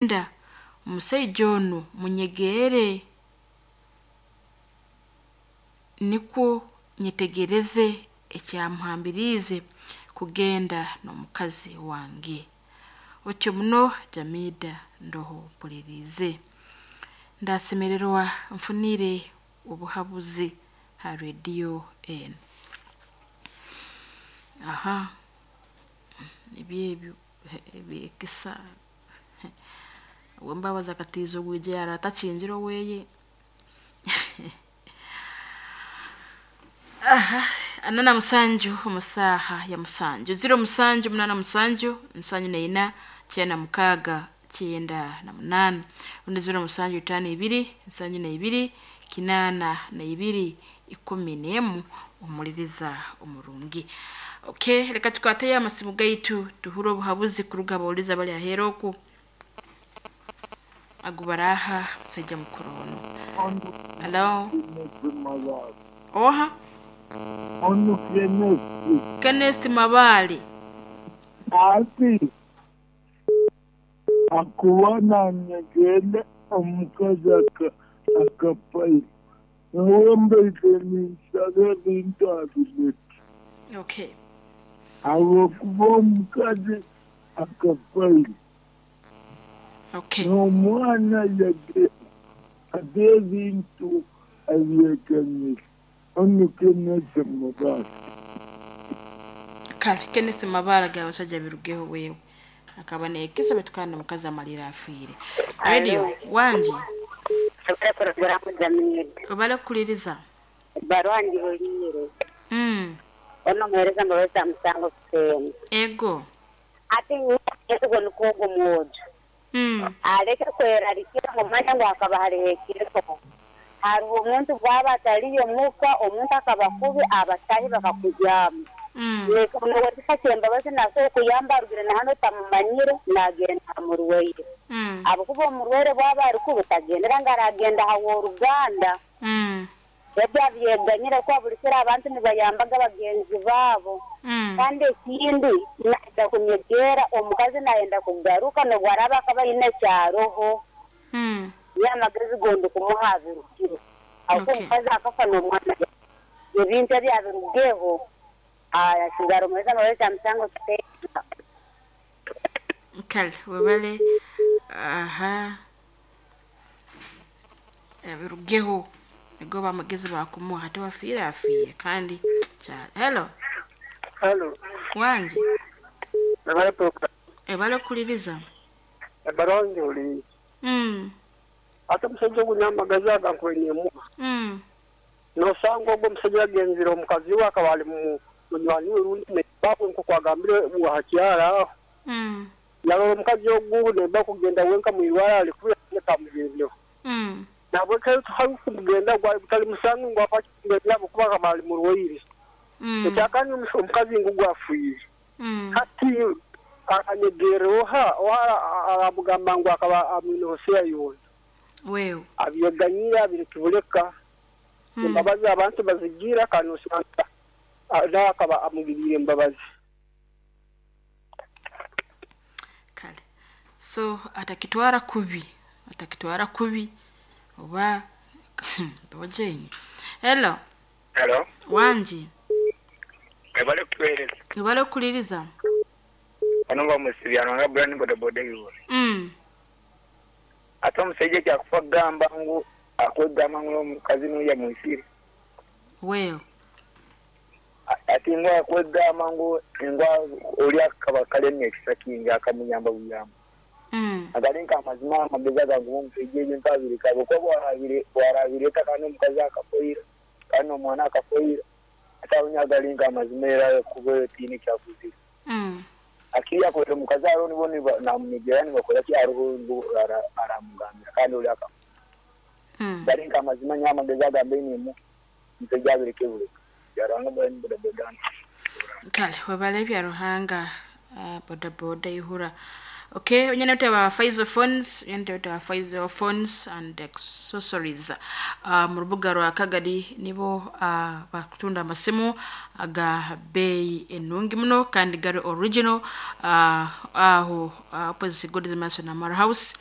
Nda omusaija onu munyegeere nikwo nyetegereze ekyamuhambiriize kugenda n'omukazi wange. Otyo muno Jamida ndoho mpuliriize. Ndasemererwa nfunire obuhabuzi ha rediyo enu. Aha nibyo ebyo ebyekisa Owembabazi akatiiza orwigi yarara atakingire oweye. Aha 47 omu saaha ya musanju 07 87 74 96 98 rundi 07 52 72 82 11 omuliriza omurungi. Okay, leka tukwateyo amasimu gaitu tuhure obuhabuzi kuruga abawuliriza abari aheeru oku agu baraha musaija mukuru onu. Hello? Oha? Onu Kenneth. Kenneth Mabale. Ati akuba nanyegere omukazi akapayi niwe mbaire ninsaba ebintu abireke. Okay. Ahabw'okuba omukazi akapayi Okay. n'omwana yagenda ate ebintu abyeganyire. Onu Kenneth Mabale. Kale Kenneth Mabale agamba omusajja birugeho wewe. Akaba neekisa baitu kandi omukazi amalire afiire. Radio wangi Ebare porogaramu Jamida. obale kukuliriza. Ebbaruwa ngihuliire. Ono omuheereza mbabazi amusanga kuseema. Ego. Ati nyewe nikwo ogwo mwojo. Aleke kwerarikira ngu manya ngu hakaba hariho ekiro. Hariho omuntu bwaba atariyo muka, omuntu akaba kubi, abatahi bakakujyama. Nowetika kyembabazi nasobola okuyamba arugire na hanu otamumanyire, nagenda aha murwaire. Ahabw'okuba omurwaire bwaba ari kubi tagendera ngu aragenda aha w'oruganda. Ebyo abyeganyire kuba buri kiro abantu nibayambaga bagenzi baabo. Kandi ekindi nayenda kunyegeera omukazi nayenda kugaruka n'obu araaba akaba aine ekyaroho. Niyo amagezi gondi kumuha abirugire. Ahabw'okuba omukazi akafa n'omwana ebintu ebi abirugeho, asigara omuheereza mbabazi amusanga kuteeka. Kale webale aha abirugeho nigo bamagezi bakumuha hati wafiire afiire kandi kyali. Hello. Halo, Wangi ebare program. ebale kukuliriza. Ebbaruwa ngihuliire. Ate omushaija ogu n'amagezi aga nkwenyemuha. Noosanga ogwo omushaija yagenzire omukazi we akaba ari munywani we rundi neighbour we nk'oku agambire aha kyaro aho. Yarora omukazi ogu neighbour kugenda wenka mwirwaro ari kubi tamugendeho. Nahabwekyo tiharikugenda gwari gutari musango ngu afa ahabw'okuba akaba ari murwaire. Ekyakandi omukazi ngu afiire. Hati aranyegerera oha oha aramugamba ngu akaba amwineho seya yoona. Wewe. Abyeganyire abirekibuleka. Embabazi abantu bazigira kandi osanga nawe akaba amugiriire embabazi. Kale. So atakitwara kubi. Atakitwara kubi oba togyenyi. Hello. Hello. Wangi. Ebale kutuheereza. Ebale kukuliriza. Bano bamusibya nga Brian bodaboda iwe. Ate omushaija ekyakufa kugamba ngu akwegamba ngu n'omukazi n'oya mwisire. Wewe. Ati ngu akwegamba ngu ori akaba karemya ekisa kingi akamuyamba buyamba. Agari nk'amazima amagezi agangu omushaija ebyo nkabireka ahabw'okuba bwarabireka kandi omukazi akafoira kandi n'omwana akafoira ate aho agari nk'amazima era kuba tiine ekyakuzire. Akiri akorera omukazi hariho nibo namunyegyera nibakora ki hariho ngu aramugambira kandi ori akafa. Gari nk'amazima nyowe amagezi agambe nimu omushaija abireke bureka. Byaruhanga Brian bodaboda. Kale webale bya Ruhanga bodaboda ihura. Okay, nyine ba Faizo Phones, nyine ba Faizo Phones and Accessories. Mu rubuga rwa Kagadi nibo bakutunda amasimu aga bei enungi muno kandi gari original, aho opposite God's Mason Amara House.